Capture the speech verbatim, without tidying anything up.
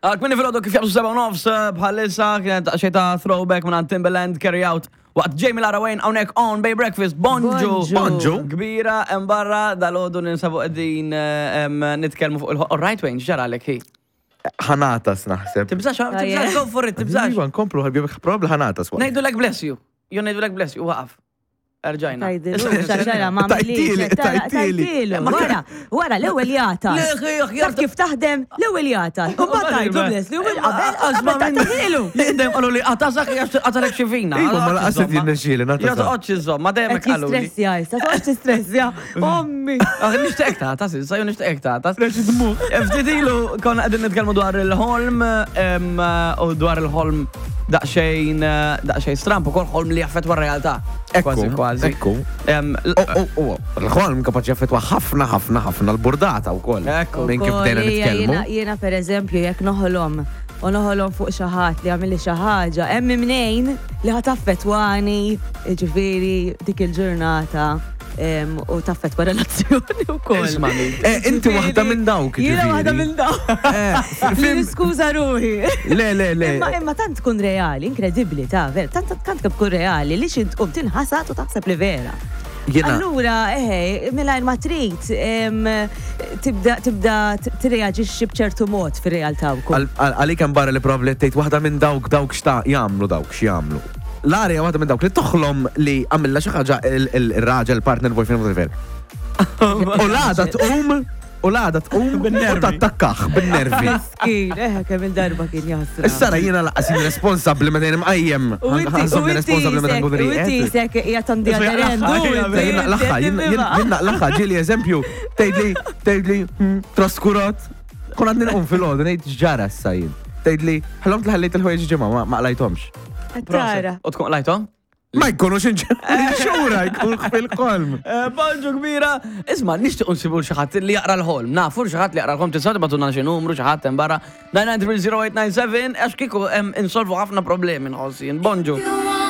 Kmieni filgħodu kif jaqbżu seba' u nofs eh, bħalissa kienet xejn ta' throwback minn Timbaland, Carry Out. Waqt Jamie Lara Wayne hawnhekk on Bay Breakfast. Bonġu. Bonġu. Bonġu. Kbira hemm barra dalgħodu ninsabu qegħdin eh, em, nitkellmu fuq il. All right, Wayne, x'ġaralek hi? Ħa nagħtas naħseb. Tibżax, tibżax, go for it, tibżax. Iva, nkomplu, ħabib, probabli ħa nagħtas. Ngħidulek bless you. Jo ngħidulek bless you, waqaf. Erġajna. Tajdilu, xaxara, ma Tajtili, tajtili. Tajtilu. Wara, wara, l-ewwel jagħtas. Le, ħi, ħi, Taf kif taħdem, l-ewwel jagħtas. U mbagħad tgħidlu bless you, u qabel qabel tagħtilu. Dejjem qalu li għatasak għax għatalek xi vina. Iva, ma laqas qed jirnexxieli, nagħtasha. Ja toqgħodx iżomm, ma dejjem Qed hekk qalu li. jistressja, issa toqgħodx tistressja. Ommi. Ah, nixtieq tagħtas, issa jew nixtieq tagħtas. Ftit ilu konna qegħdin nitkellmu dwar il-ħolm em, u dwar il-ħolm daqsxejn daqsxejn stramp ukoll ħolm li jaffettwa r-realtà. Kważi kważi. Ekku. Em, l- U, u, u, l-ħolm kapaċi jaffettwa ħafna, ħafna, ħafna l-burdata u koll. Ekku. Minn kif bdejna Ukoll, ija, nitkellmu. Jiena, jiena per eżempju, jekk noħolom u noħolom fuq xi ħadd li għamilli xi ħaġa, hemm mnejn li ħa taffettwani, ġifieri dik il-ġurnata em, u taffettwa relazzjoni wkoll. Ismani. Eh, inti waħda minn dawk, Jiena ġifieri. waħda minn dawk. Eh, Li niskuża ruħi. Le, le, le. Imma imma tant tkun reali, inkredibbli ta' vera, tant tant kemm tkun reali li xi tqum tinħasad u taħseb li vera. Jiena- Allura, eħe, mingħajr ma trid, em, tibda tibda tirreaġixxi b'ċertu mod fir-realtà wkoll. Għal- għal- Għalik hemm barra li probabli tgħid waħda minn dawk dawk xta jagħmlu dawk x'jagħmlu. L-arja waħda minn dawk li toħlom li għamilla xi ħaġa il- il- il-raġel, partner, boyfriend, whatever. U l-għada tqum, u l-għada tqum u Bin-nervi. tattakkaħ bin-nervi. Miskin, eħe, kemm il-darba kien jaħsra. Issa ra jiena laqas jien responsabbli meta jien imqajjem. U inti, u Ħa nżommni inti responsabbli meta nkun isek, u inti rieqed. isek qiegħed on the other end. u inti- Jien naqlaħħa, jien naqlaħħa, ġieli eżempju, tgħidli, tgħidli, hmm, traskurat. Kun għadni nqum fil-għodu, ngħid x'ġara issa jien. Tgħidli, ħlomt li ħallejt il-ħwejjeġ ġimgħa, ma ma qlajthomx. Tara. U tkun qlajthom? Ma jkunux inxura, jkun fil-ħolm. Eh, Bonġu kbira. Isma, nixtieq nsibu xi ħadd li jaqra l-ħolm. Nafu xi ħadd li jaqra l-ħolm tistgħu tibagħtulna xi numru xi ħadd hemm barra nine nine three zero eight nine seven għax kieku hemm insolvu ħafna problemi nħoss jien. Bonġu.